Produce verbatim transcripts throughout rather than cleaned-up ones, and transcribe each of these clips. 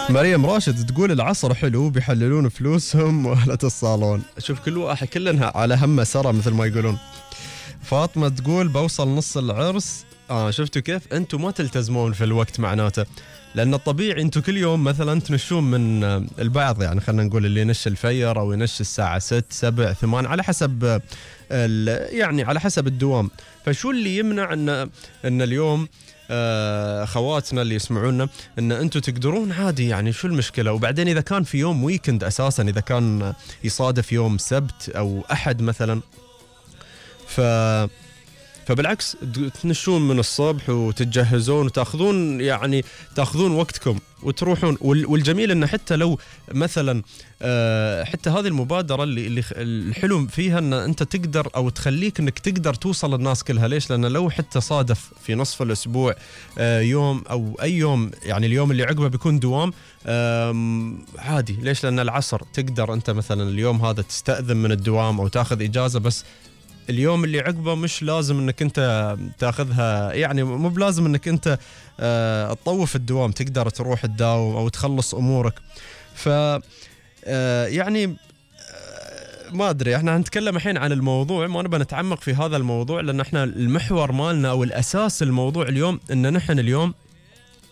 مريم راشد تقول العصر حلو بيحللون فلوسهم وأهلة الصالون. شوف كل واحد كلنا على همه سرى مثل ما يقولون. فاطمة تقول بوصل نص العرس. آه شفتوا كيف أنتوا ما تلتزمون في الوقت معناته، لأن الطبيعي أنتوا كل يوم مثلا تنشون من البعض، يعني خلينا نقول اللي ينش الفير أو ينش الساعة ست سبع ثمان على حسب يعني على حسب الدوام. فشو اللي يمنع أن أن اليوم آه خواتنا اللي يسمعونا ان انتم تقدرون عادي، يعني شو المشكله؟ وبعدين اذا كان في يوم ويكند اساسا، اذا كان يصادف يوم سبت او احد مثلا، ف فبالعكس تنشون من الصبح وتتجهزون وتاخذون يعني تاخذون وقتكم وتروحون. والجميل انه حتى لو مثلا حتى هذه المبادره اللي اللي الحلو فيها ان انت تقدر او تخليك انك تقدر توصل للناس كلها. ليش؟ لان لو حتى صادف في نصف الاسبوع يوم او اي يوم، يعني اليوم اللي عقبه بيكون دوام عادي. ليش؟ لان العصر تقدر انت مثلا اليوم هذا تستأذن من الدوام او تاخذ اجازه، بس اليوم اللي عقبه مش لازم انك انت تاخذها، يعني مو بلازم انك انت اه تطوف الدوام، تقدر تروح تداوم او تخلص امورك. ف اه يعني اه ما ادري، احنا هنتكلم الحين عن الموضوع، ما نبغى نتعمق في هذا الموضوع لان احنا المحور مالنا او الاساس الموضوع اليوم ان نحن اليوم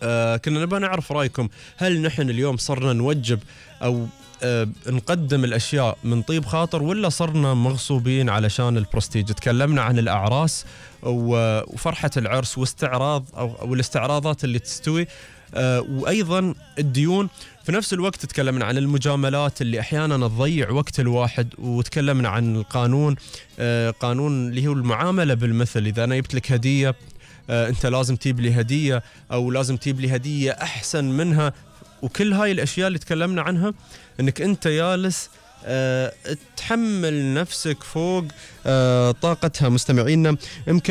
اه كنا نبغى نعرف رايكم. هل نحن اليوم صرنا نوجب او أه نقدم الأشياء من طيب خاطر، ولا صرنا مغصوبين علشان البرستيج؟ تكلمنا عن الأعراس وفرحة العرس واستعراض أو, أو الاستعراضات اللي تستوي، أه وأيضا الديون. في نفس الوقت تكلمنا عن المجاملات اللي أحيانا تضيع وقت الواحد، وتكلمنا عن القانون، أه قانون اللي هو المعاملة بالمثل. إذا أنا جبت لك هدية أه أنت لازم تجيب لي هدية، أو لازم تجيب لي هدية أحسن منها. وكل هاي الأشياء اللي تكلمنا عنها انك انت جالس أه تحمل نفسك فوق أه طاقتها. مستمعينا يمكن